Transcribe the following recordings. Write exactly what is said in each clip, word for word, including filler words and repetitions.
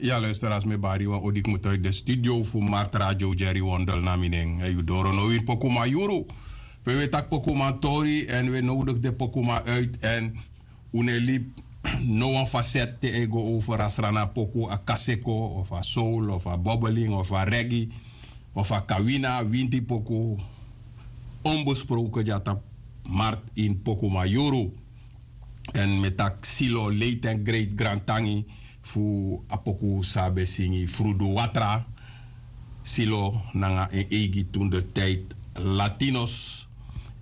Ya, luisteraars, mi e bari wan odi kmoto uit de studio fu Mart Radio Jerry Wondel na mi nen. Yu doro now ini Pokuman Yuru. Pe wi e taki Pokuman tori en wi e nodig den Pokuman uit en un no e libi no wan faset te a e go over a Sranan poku, a kaseko of a soul of a bobbeling of a reggae of a kawina, winti poku, onbesproken dya tapu Mart ini Pokuman Yuru. En mi e taki Silo, late en great grantangi fu a poku san a ben singi, Frudu Watra. Silo nanga en eigi toen de tijd Latinos.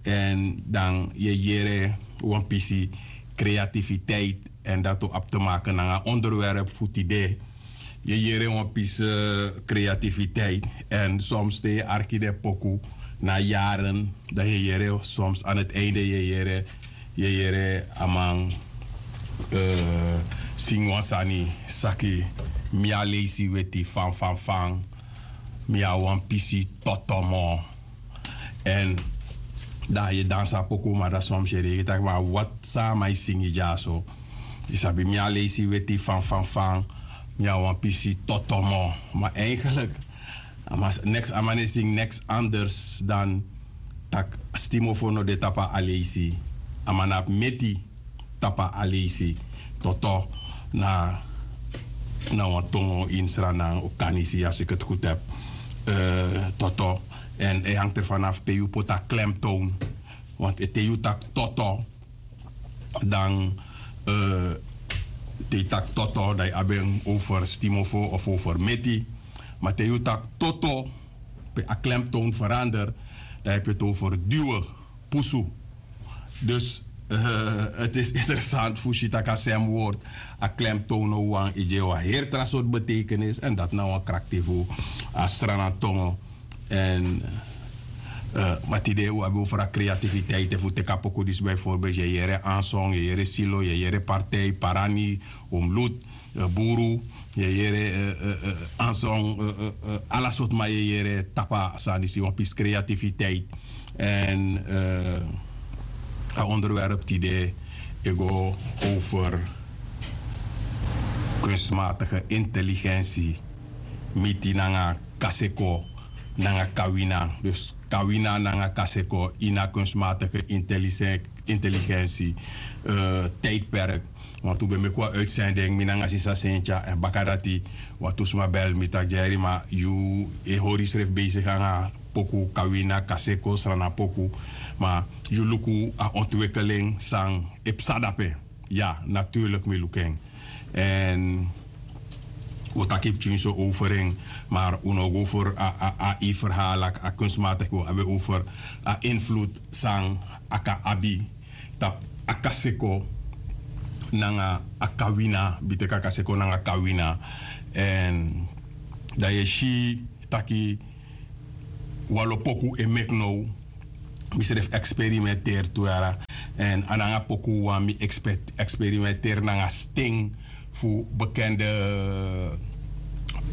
En dan yu e yere wan pisi creativiteit, en dati o abi te maken nanga onderwerp fu tide. Yu e yere wan pisi creativiteit, en soms te yu e arki den poku na yaren, dan yu e yere soms aan het einde yu e yere, yu e yere a man, eh, singi wan sani, saki: mi a leisi weti fan fan fan, mi a wan pisi totomo. En dan yu e dansi a poku, ma dan soms yu e denki taki: ma wat san a man e singi dyaso? Yu sabi, mi a leisi weti fan fan fan, mi a wan pisi totomo. Ma eigenlijk a man, niks, a man e singi niks anders dan taki stimofo no de tapu a leisi. A man no abi meti tapu a leisi. Toto na, na wan tongo ini Sranan, Okanisi, als ik het goed heb. Eh, toto. En het hangt ervan af pe yu poti a klemtoon. Want te yu taki toto, dan, eh, te yu taki toto, dan yu abi en over stimofo of over meti. Ma te yu taki toto, pe a klemtoon verander, dan yu abi het over duwen, pusu. Dus, eh, het is interessant fu si taki a sem woord, a klemtoon no wan, e gi wan heri tra sortu betekenis, en dati na wan krakti fu a Sranan tongo. En, eh, ma tide un abi over a creativiteit, efu un teki a poku disi bijvoorbeeld, yu e yere Anson, yu e yere Silo, yu e yere Partij, Parani, Omlut, eh, Buru, yu e yere, eh, eh, eh, Anson, eh, eh, eh, ala sortu man yu e yere tapu a sani disi, wan pisi creativiteit. En, eh, a onderwerp tide e go over kunstmatige intelligentie, miti nanga kaseko nanga kawina. Dus kawina nanga kaseko ini a kunstmatige intelligen-, intelligentie, eh, tijdperk. Want un ben meki wan uitzending, mi nanga sisa Sentia, en baka dati wantu sma bel mi taki: Jerry, ma yu e hori yusrefi bezig nanga poku kawina, kaseko, Sranan poku, ma yu luku a ontwikkeling san e psa dape? Ya, natuurlijk mi luku en. En un o taki pikinso over en, maar un no o go over a, a, a, a verhaal, a, a kunstmatig, un o abi over a invloed san a kan abi tapu a kaseko nanga a kawina, biteki a kaseko nanga kawina. En dan yu e si taki wan lo poku e meki now, mi srefi experimenteri tu yara. En a nanga poku wan mi expert-, experimenteri nanga sten fu bekende, eh,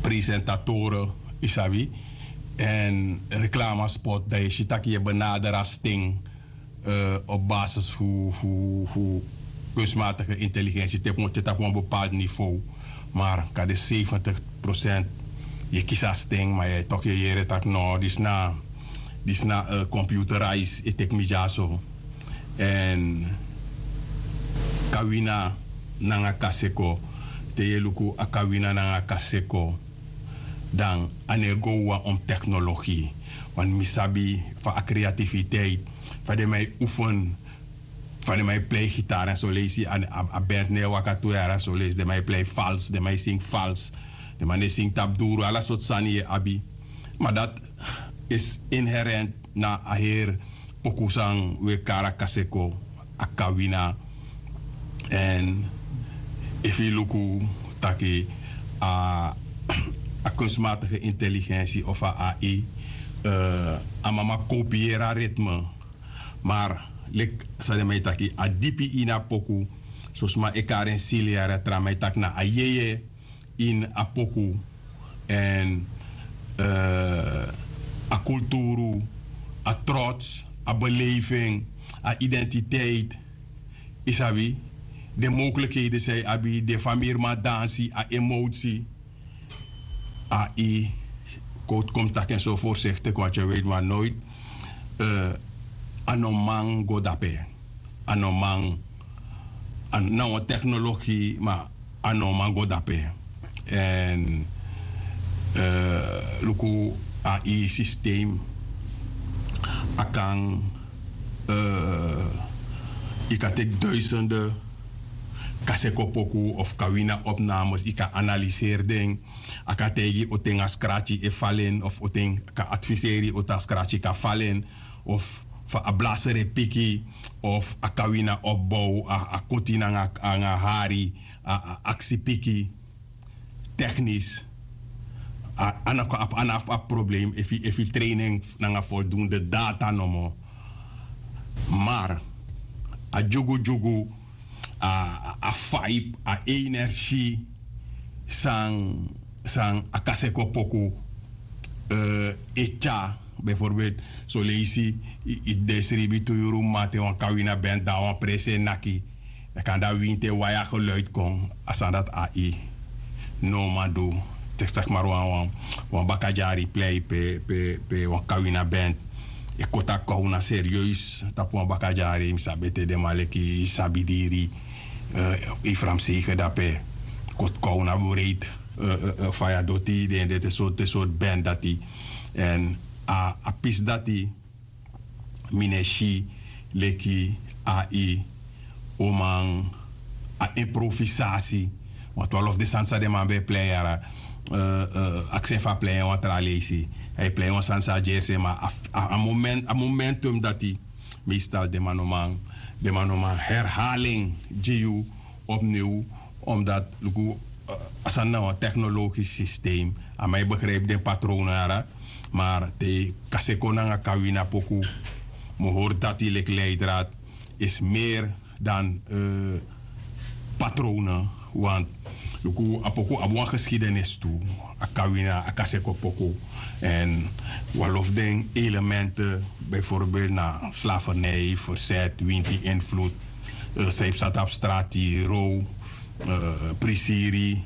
presentatoren, yu sabi, en reclamespot, dan yu e si taki yu e benaderi a sten, eh, op basis fu, fu, fu kunstmatige intelligentie, te yu poti en tapu wan bepaald niveau. Maar kan de zeventig procent yu e kisi a sten, maar yu e toch yu e yere taki: no, disi na, disi na, eh, computerized, e teki mi dyaso. En kawina nanga kaseko, te yu e luku a kawina nanga kaseko, dan a no e go wawan om technologie. Want mi sabi fa a creativiteit, fa den man e oefen, fa den man e plei gitaar en soleisi, a, a, a band no e waka tu yara soleisi, den man e plei vals, den man e singi vals, den man e singi tapu duru, ala sortu sani yu e abi. Maar dat is inherent na a heri poku san wi e kari a kaseko, a kawina. En efu yu luku taki a, a kunstmatige intelligentie of a A I, eh, a mama kopiëri a ritme. Maar leki san den man e taki, a dipi ini a poku, so sma e kari en sili yara, tra man e taki na a yeye ini a poku. En, eh, a kulturu, a trots, a beleving, a identiteit, yu sabi, den mogelijkheden san yu abi, den famiriman dansi, a emotie. ai kon taki en so forsektik want yu e weti wan noit a no man go dape. A no man na wan teknologi ma a no man go dape. Èn luku ai sistem a kan yu kan teki duisende kaseko poku of kawina opnames yu kan analiseri den. A kan taigi yu oti en a skrati e falen of oti en kan adviseri yu oti a skrati kan falen of fa a blaseri e piki of a kawina opbow a koti nanga hari a aksi piki. Teknis a na fu abi problem efu yu train en nanga voldoende data nomo. Mar a dyugudyugu a vibe a energie san san a kaseko poku e tyari bijvoorbeeld soleisi yu de sribi tu yuru mate wan kawina ben dan wan presi e naki. Dan kan dan winti e wai a geluid kon a sani dati ai no man du. Teki saki mari wan wan bakadyari plei pe pe pe wan kawina band e koti a kowna serieus tapu wan bakadyari mi sabi ete den man leki sabi diri. Efram seigen dape koti kowna breiti faya doti den de te sortu band dati. Èn a pisi dati mi no e si leki ai o man a improvisasi. Want wan lof den sani san den man ben e plei yara aksi en fu a plei en wan tra leisi. A e plei wan sani san a gersi en ma a moment a momentum dati meestal den man no man den man no man herhaling gi yu opniw. Omdat luku a sani na wan teknologisch systeem a man e begrijpi den patronen yara. Maar te kaseko nanga kawina poku mi hori dati leki leidraad is meer dan patronen. Want luku a poku abi wan geschiedenis tu a kawina a kaseko poku. En wan lof den elementen bijvoorbeeld na slavernij verzet winti invloed. San yu psa tapu strati row prisiri.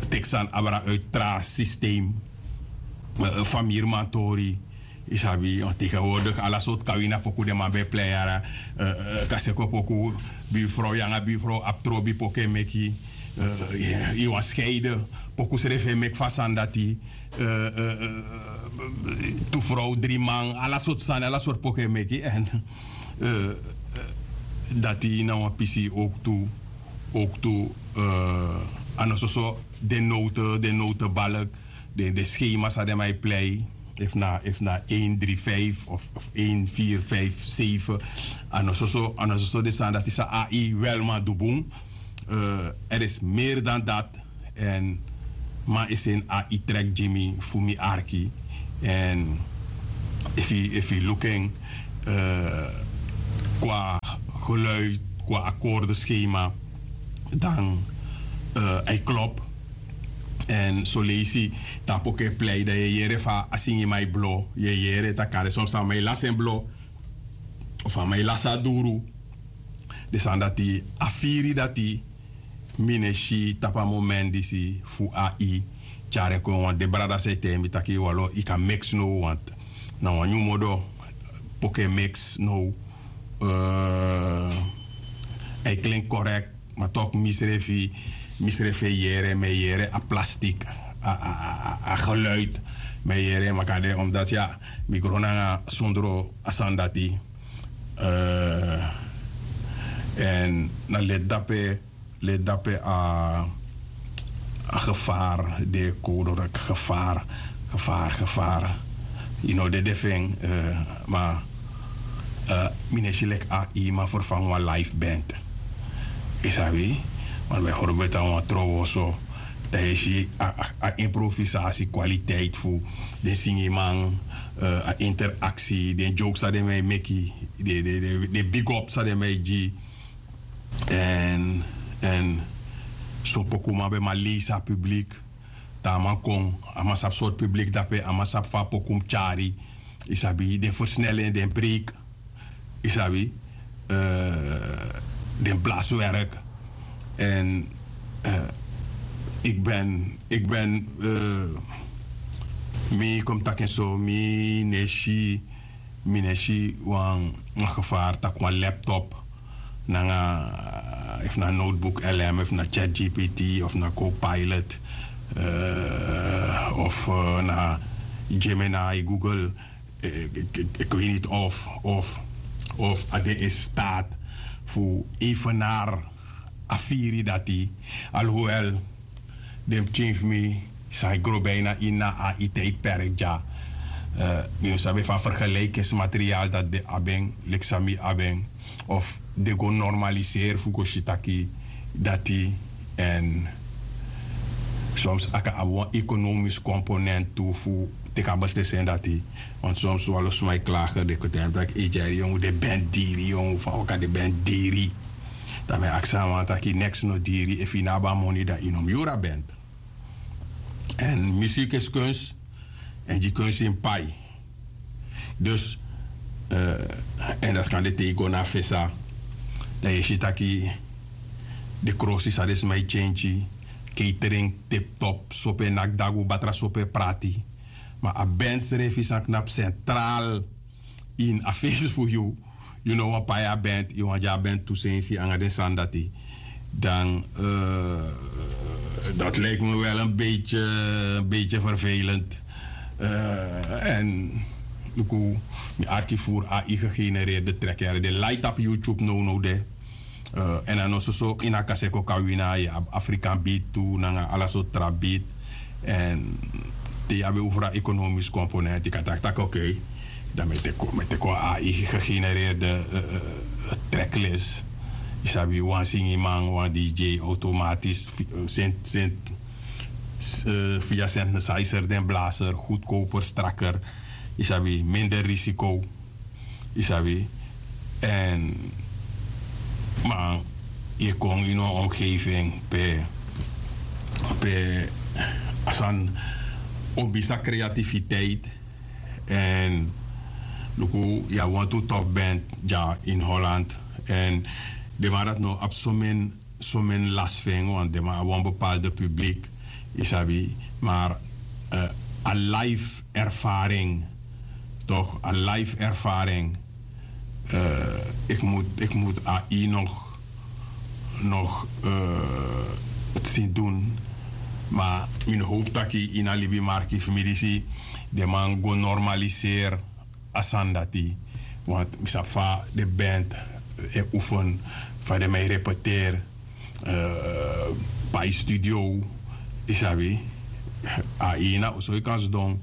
Teki sani abra uit tra systeem. Famiri mantori yu sabi tegenwoordig ala sortu kawina poku den man ben e plei yara. Kaseko poku buurvrouw yanga buurvrouw abi trobi poku e meki. Yu wan skeide poku srefi e meki fu a sani dati. Tu vrouw dri man ala sortu sani ala sortu poku e meki èn dati na wan pisi owktu. Owktu a no soso den note den notebalk den schema san den man e plei efu na efu na ein dri vijf of ein vier vijf zeven. A no soso a no soso den sani dati san ai wel man du bun. Er is meer dan dat. Èn man e seni ai trek gi mi fu mi arki. Èn efu yu luku en kwa geluid kwa akorde schema dan a e klop. Èn soleisi tapu oke plei dan yu e yere fa a singiman e blo yu e yere tak' a de son sama e lasi en blo. Of a man e lasi a duru. Den sani dati a firi dati mi no e si tapu a moment disi fu ai tyari en kon wan de brada san e taigi mi taki walo yu kan mix now want na wan nyun modo. Poke mix now. A e klink korekt. Ma tok mi srefi mi srefi e yere mi e yere a plastik a geluid. Mi e yere makade omdat ya mi gron nanga sondro a sani dati. Èn na leti dape leti dape a gevaar de kodruk gevaar gevaar gevaar. Yu no dede fu en. Ma mi no e si leki a yu man ferfangu wan life band. Yu sabi? Want bijvoorbeeld na wan trowoso dan yu e si a improvisasi kwaliteit fu den singiman a interaksi den joke san den man e meki den big up san den man e gi. Èn èn son pokuman ben man leisi a publik. Dan a man kon a man sabi sortu publik dape a man sabi fa a poku mus tyari. Yu sabi den fersnel en den breik. Yu sabi den blaswerk. Èn Ik ben, ik ben, mi kom taki en so, mi nesi, mi nesi wan, wan gevaar taki wan laptop nanga, efu na notebook lm efu na chat gpt of na copilot, of na gemini, google. Ik weet niet of, of, of a de in staat fu evenaar a firi dati. Alhoewel den pikin fu mi san e gro bijna ini a iti e perk dya. Mi no sabi efu a vergelijkingsmateriaal dati den abi en leki san mi abi en, of den go normaliseri fu go si taki dati. Èn soms a kan abi wan ekonomisk komponent tu fu teki a beslisi en dati. Want soms wan lo sma e klager den koti en taki e dyari yongu den bent diri yongu fa waka den bent diri. Dan mi e aksi a man taki neks no diri efu yu no abi a moni dan yu no mus yuru a bent. Èn musik is kuns. Èn gi kuns ini pai. Dus èn dati kan de te yu go na a fesa dan yu e si taki den krosi san den sma e tyentyi, keitering, teptop sope naki dagu batra sope prati. Ma a bent srefi san knapu sentraal ini a fesi fu yu. Yu no wani pai a bent yu wani gi a bent tu sensi nanga den sani dati. Dan dat lijkt me wel en beetje en beetje vervelend. Èn luku mi arki furu a igegenereerde trek yara de light up youtube no no de. Èn a no soso ini a kaseko kan wini a yu abi afrikan beat tu nanga ala sortu tra beat. Èn te yu abi en over a ekonomisk komponent yu kan taki taki oké. Dan mi e teki wan ai gegenereerde treklis. Yu sabi wan singiman wan dj automatisch sent sent via synthesizer den blazer goedkoper strakker. Yu sabi minder risiko. Yu sabi. Èn man yu e kon ini wan omgeving pe pe a sani o misi a kreativiteit. Èn luku yu abi wantu top band dya ini holland. Èn den man dati no abi somen somen lasi fu en want den man abi wan bepaalde publik. Yu sabi. Mar a life ervaring tok a life ervaring. Ik mut a yu nog nog tsin dun. Ma mi no howpu taki ini a libi marki fu mi disi den man go normaliseri a sani dati. Want mi sabi fa den band e oefen fa den man e repeteri pai studio. Yu sabi a ini a oso yu kan sidon.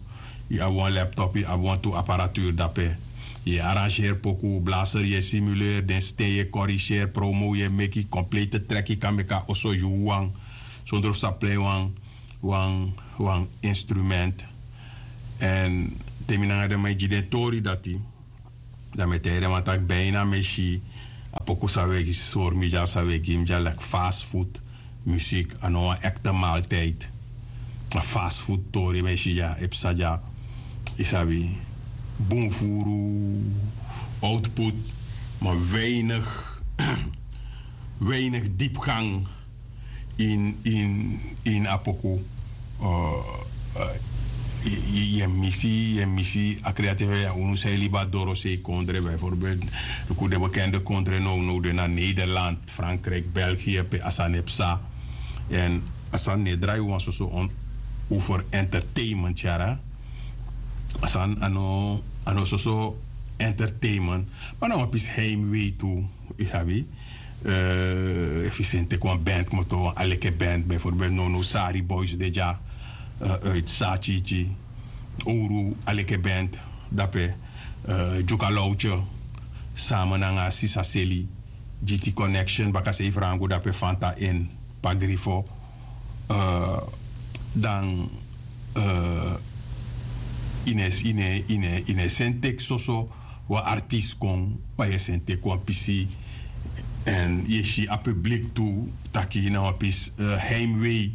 Yu abi wan laptop yu abi wantu aparatuur dape. Yu e arrangeri poku blaser yu e simuleri den sten yu e korigeri promo yu e meki komplete trek yu kan meki a oso yu wawan sondro fu sa plei wan wan wan instrument. Èn te mi nanga den man e gi den tori dati dan mi e taigi den man taki bina mi e si a poku san wi e gi sori mi dya san wi e gi mi dya leki fast food. Muzik a no wan ekte maaltijd. A fast food tori mi e si dya e psa dya. Yu sabi bun furu output ma weinig weinig dipgang. In in in a poku yu e misi yu e misi a kreative ya unu san e libi a dorosei kondre bijvoorbeeld luku den bekende kondre nownow den na nederland frankrijk belgië pe a sani e psa. Èn a sani no e drai wan soso over entertainment yara. A sani a no soso entertainment ma na wan pisi heimwee tu. Yu sabi efu yu seni teki wan band kmoto wan aleke band bijvoorbeeld nownow sari boys de dya uit saatyiityi owru aleke band dape. Dyuka lowtye sama nanga sisa seli. Giti connection bakasei frangu dape fanta in pagrifo. Dan yu no e seni teki soso wan artist kon ma yu e seni teki wan pisi. Èn yu e si a publik tu taki na wan pisi heimwee.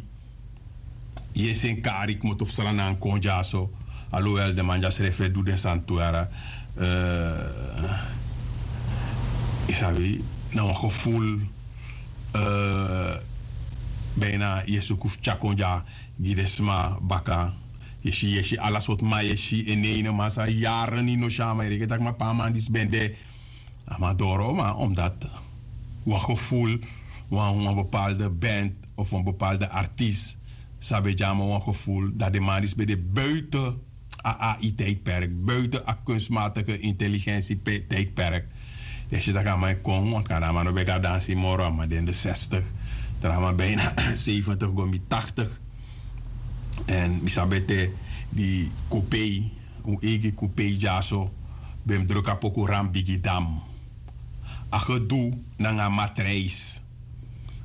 Yu e seni kari kmoto fu sranan kon dyaso. Alowel den man dyasrefi e du den sani tu yara. Yu sabi na wan geful. Bina yu e suku fu tyari kon dya gi den sma baka. Yu e si yu e si ala sortu man yu e si en neine man san yaren yu no si a man yu reken tak' man pe a man disi ben de. A man doro man omdati wan geful wan bepalde band of wan bepalde artis san ben dyama wan geful dati den man disi ben de buiten a ai tijdperk buiten a kunstmatige intelligentie tijdperk. Yu e si tak' a man e kon want kan a man no ben kan dansi moro a man de in de zestig, tra man bijna zeventig go mi tachtig. Èn mi sabi ete di kupei un eigi kupei dyaso ben mus druk a poku ran bigi dam. A gedu nanga a matrijs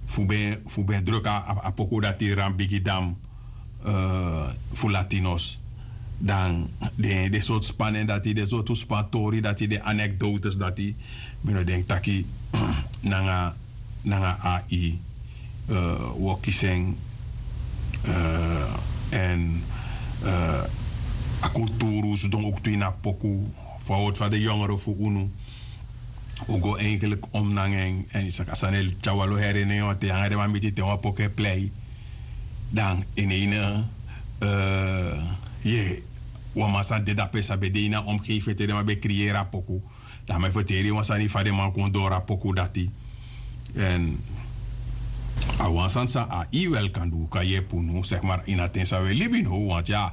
fu ben fu ben druk a poku dati ran bigi dam fu latinos. Dan den sortu span nen dati den sortu span tori dati den anekdotes dati mi no denki taki nanga nanga ai wi o kisi en. Èn a kulturu sidon oktu ini a poku fu a wortu fa den yongere fu unu o go eigenlik om nanga en èn yu saka sani e tyari wan lo heri en nen wanten yu nanga den man miti te wan poku e plei. Dan en ene ye wan man san de dape san ben de ini a omgeving te den man ben kriyeri a poku. Dan mi e ferteri yu wan sani fa den man kon doro a poku dati. Èn a wan sani san a iwel kan du kan yepi unu seki mari ini a ten san wi e libi now wanti a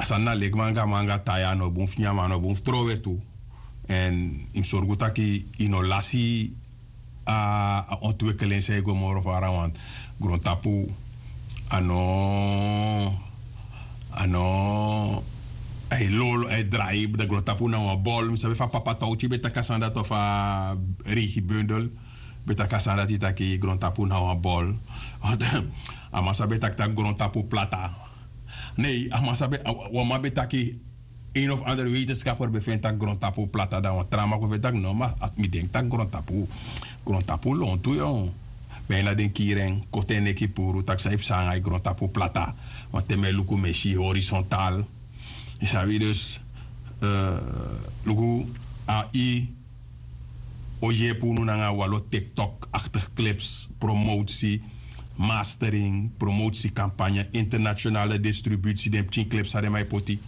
sani na leki man anga man anga tai a no bun fu nyan man a no bun fu trowe tu. Èn yu mus sorgu tak' yu no lasi a ontwikkelin san e go moro fara want grontapu a no a no a e lolo a e drai dan grontapu na wan bol mi sabi fa papa towti ben taki a sani dati of a reigi bundel ben taki a sani dati taki grontapu na wan bol. A man sabi taki taki grontapu plata. Nei a man sabi wan man ben taki een of andere wetenskapper ben feni taki grontapu plata dan wan tra man kon feni taki no ma mi denki taki grontapu grontapu lontu. Bijna den kiri en koti en neki puru taki san yu psa nanga yu grontapu plata. Want te mi e luku mi e si horizontal yu sabi dus luku a i o yepi unu nanga wan lo tiktok aktig clips promotie mastering promotie kampanye internationale distributie den pikin clips san den man e poti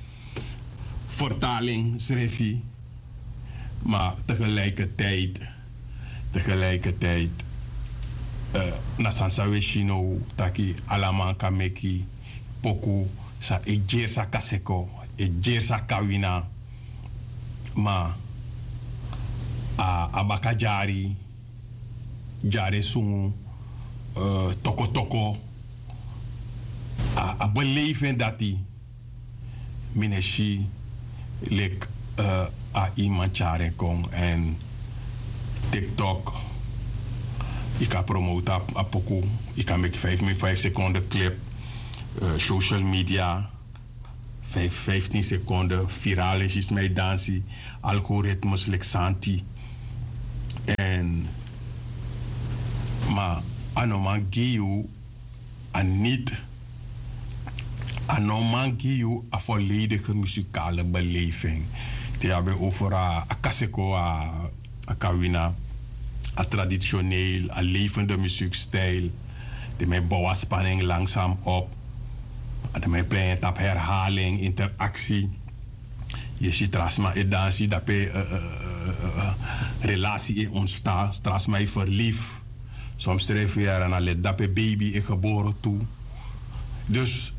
fertaling srefi. Ma tegelijkertijd tegelijkertijd na sani san wi e si now taki ala man kan meki poku san e dyeri san kaseko e dyeri san kawina. Ma a baka dyari dyari e sungu tokotoko a belefi en dati. Mi no e si leki a iman tyari en kon èn tiktok yu kan promote a poku yu kan meki fif min fif sekonde clip social media fif fiftin sekonde viral en si sma e dansi algoritmes leki santi. Èn ma a no man gi yu a niti a no man gi yu a volledige musikale beleving. Te yu abi en over a kaseko a kawina a traditioneel a levende muziekstijl. Den man e bow a spanning langzaam op. Den man e plei en tapu herhaling interactie. Yu e si tra sma e dansi dape relasi e ontsta tra sma e verlief. Soms srefi yara na leti dape beibi e gebore tu. Dus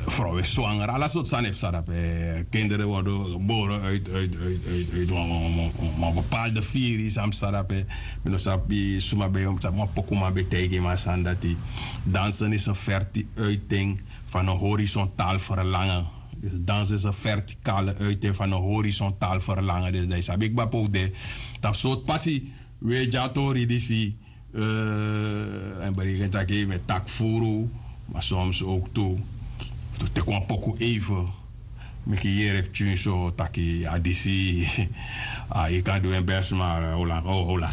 frow e swanger ala sortu sani e psa dape kinderen worden gebore uit uit uit uit wan bepaalde firi san psa dape. Mi no sabi suma ben yu mus sabi wan pokuman ben taigi mi a sani dati dansen is en ferti uiting van en horizontaal verlangen. Dus dansen is en vertikale uiting van en horizontaal verlangen dus dan yu sabi kba pe un de tapu sortu pasi. Wi e dyatori disi en berekeni taki mi e taki furu ma soms ouk tu tu teki wan poku eive meki yere pikin so taki a disi a yu kan du en best ma hola hola.